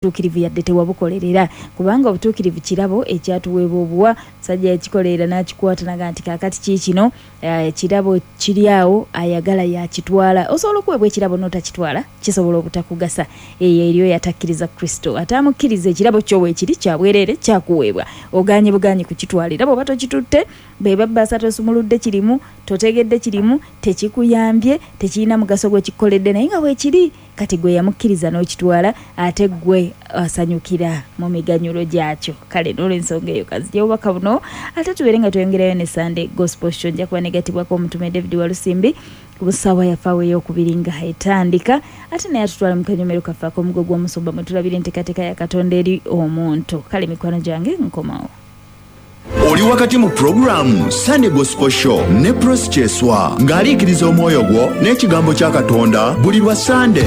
Obutuukirivu yadde tewabukolerera, kubanga obutuukirivu kirabo ekyatuweebwa obuwa. Musajja yakikolerera n'akikwata naga nti kaakati kiikino ekirabo kiri awo, ayagala yakitwala. Osobola okuweebwa ekirabo n'otakitwala, kisobola obutakugasa. Eyo eriyo yatakkiriza Kristo, ate amukkiriza ekirabo kyo weekiri kya bwereere, kyakuweebwa, ogaanye bugaanyi kukitwala. Era bw'oba tokitutte, be babbaasa tosumuludde kirimu, totegedde kirimu, tekikuyambye, tekirina mugaso gwe kikukoledde, naye nga weekiri. Kati gwe yamukkiriza n'okitwala, ate gwe asanyukira mu miganyulo gyakyo. Kale n'olwensonga eyo kanzigye obubaka buno, ate tubeere nga tweyongerayo ne Sunday Gospel Show. Nja kuba negatibwako omutume David Walusimbi ku ssaawa yaffe awo ey'okubiri nga etandika, ate naye atutwala mu kanyomero kaffe ak'omugo gw'omusumba mwe tulabira enteekateeka ya Katonda eri omuntu. Kale mikwano gyange, nkomawo. Oli wakati mu pulogulaamu Sunday Gospel Show ne Prossy Kyeswa, ng'aliikiriza omwoyo gwo n'ekigambo kya Katonda buli lwa Sande.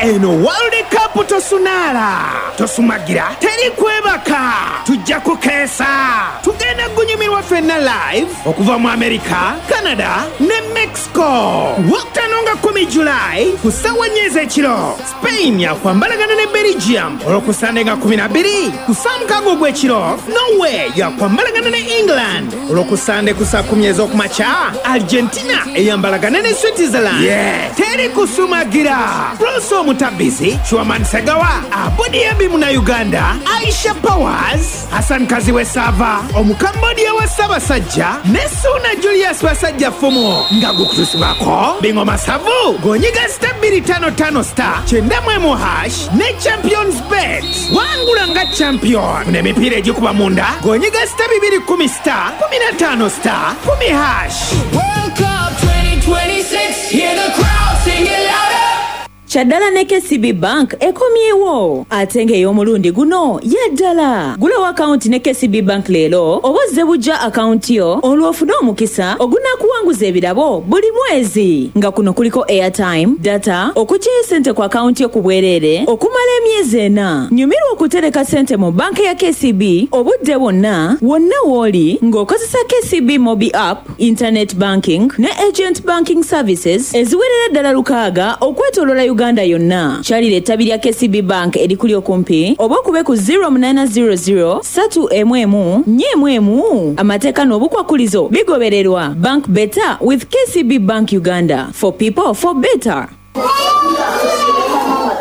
Eno World Cup tosunaala, tosumagira, teri kwebaka, tujja kukeesa. Tugenda kunyumirwa ffenna live okuva mu America, Canada ne Mexico. Lwokutaano nga 10 July ku ssaawa 4 ez'ekiro, Spain yakwambalagana ne Belgium. Olwokusande nga 12 ku ssaawa 6 ogw'ekiro, Norway yakwambalagana ne England. Olwokusande ku ssaawa 10 ez'okumakya, Argentina eyambalagana ne Switzerland. Yeah. Teri kusumagira. Proso Omutabizi, Chuaman Segawa, Abudi Munnayuganda, Aisha Powers, Hassan Kaziwe Sava, Omukambodia wa Ssaabasajja ne Suuna Julius Basajja Fumu, nga gukutusibwako Bingo Masavu g'onyiga *255*91# ne Champions Bet. Wangula nga champion n'emipiira egikuba munda g'onyiga *210*15*10#. World Cup 2026, hear the crowd sing it louder. Kyaddala ne KCB Bank ekomyewo, ate ng'ey'omulundi guno yaddala. Gulawo akawunti ne KCB Bank leero oba ozze bujja akawunti yo, olwo ofune omukisa ogunaakuwanguza ebirabo buli mwezi, nga kuno kuliko airtime, data, okuggyayo ssente ku akawunti yo ku bwereere okumala emyezi 4. Nyumirwa okutereka ssente mu banka ya KCB obudde bwonna, wonna w'oli, ng'okozesa KCB Mobi App, internet banking ne agent banking services eziwerera ddala 6 okwetooloola Uganda yonna. Kyalira ettabi lya KCB Bank erikuli okumpi oba okube ku 0800 311 411. Amateeka n'obukwakulizo bigobererwa. Bank better with KCB Bank Uganda, for people, for better.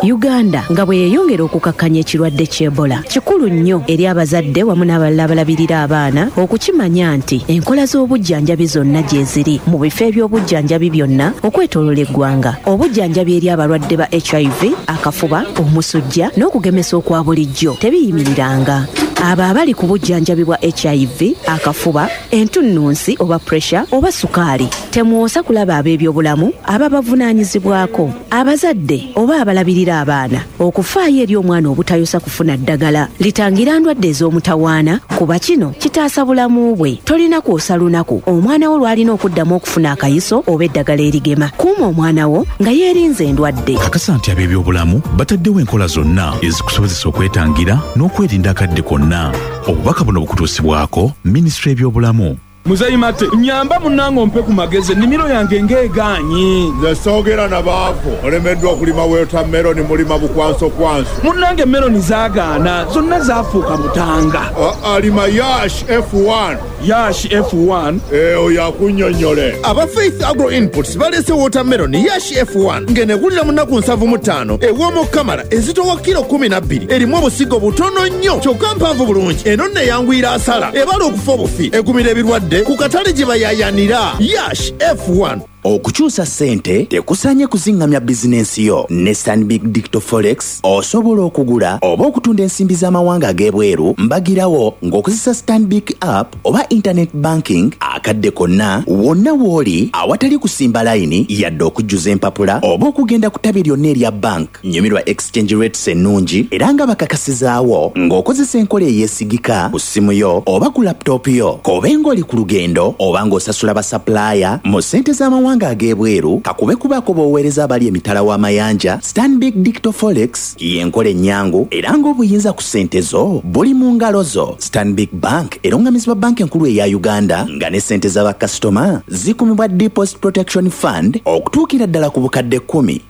Uganda nga bwe yeeyongera okukakkanya ekirwadde ky'Ebola, kikulu nnyo eri abazadde wamu n'abalala abalabirira abaana okukimanya nti enkola z'obujjanjabi zonna gye ziri mu bifo eby'obujjanjabi byonna okwetooloola eggwanga. Obujjanjabi eri abalwadde ba HIV, akafuba, omusujja n'okugemesa okwa bulijjo tebiyimiriranga. Abo abali ku bujjanjabi bwa HIV, akafuba, entunnunsi oba pressure oba sukaali, temwosa kulaba ab'ebyobulamu ababavunaanyizibwako. Abazadde oba abalabirira abaana okufaayo eri omwana obutayosa kufuna ddagala litangira ndwadde ez'omutawaana, kuba kino kitaasa bulamu bwe. Tolina kwosa lunaku omwana wo lw'alina okuddamu okufuna akayiso oba eddagala erigema. Kuuma omwana wo nga yeerinze endwadde. Kakasa nti ab'ebyobulamu bataddewo enkola zonna ezikusobozesa okwetangira n'okwerinda akadde konna. Obubaka buno bukutuusibwako Minisitule y'Ebyobulamu. Muzeyi Mate, nyamba munnange, ompe ku magezi, ennimiro yange ng'egaanyi. Nze soogera na baavu. Olemeddwa okulima watermelon, mulima bukwansokwanso. Munnange, meloni zaagaana, zonna zaafuuka butanga. Alima Yash F1. Yash F1? Oyo akunnyonnyole. Aba Faith Agro Inputs baleese watermelon Yash F1 ng'enegulira mu nnaku 75, ewooma okukamala, ezitowa kilo 12, erimu obusigo butono nnyo kyokka mpanvu bulungi. Eno nno eyanguyira asala, ebala okufa obufi, egumira ebirwadde, ku katale gye bayayanira. Yash F1. Okukyusa ssente tekusaanye kuziŋŋamya bizinensi yo. Ne Stanbic Digital Forex osobola okugula oba okutunda ensimbi z'amawanga ag'ebweru mbagirawo ng'okozesa Stanbic App oba internet banking, akadde konna, wonna w'oli, awatali kusimba layini yadde okujjuza empapula oba okugenda ku ttabi lyonna erya bank. Nyumirwa exchange rates ennungi era nga bakakasizaawo ng'okozesa enkola eyeesigika ku ssimu yo oba ku laptop yo. K'obe ng'oli ku lugendo oba ng'osasula basupplier mu ssente z'amawanga ag'ebweru, kakube kubaako b'oweereza abali emitala w'amayanja, Stanbic Digital Forex y'enkola ennyangu era ng'obuyinza ku ssente zo buli mu ngalo zo. Stanbic Bank erongamizibwa Banka Enkulu eya Uganda, nga ne ssente z'abakasitoma zikumibwa Deposit Protection Fund okutuukira ddala ku bukadde 10.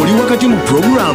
Oli wakati mu pulogulaamu.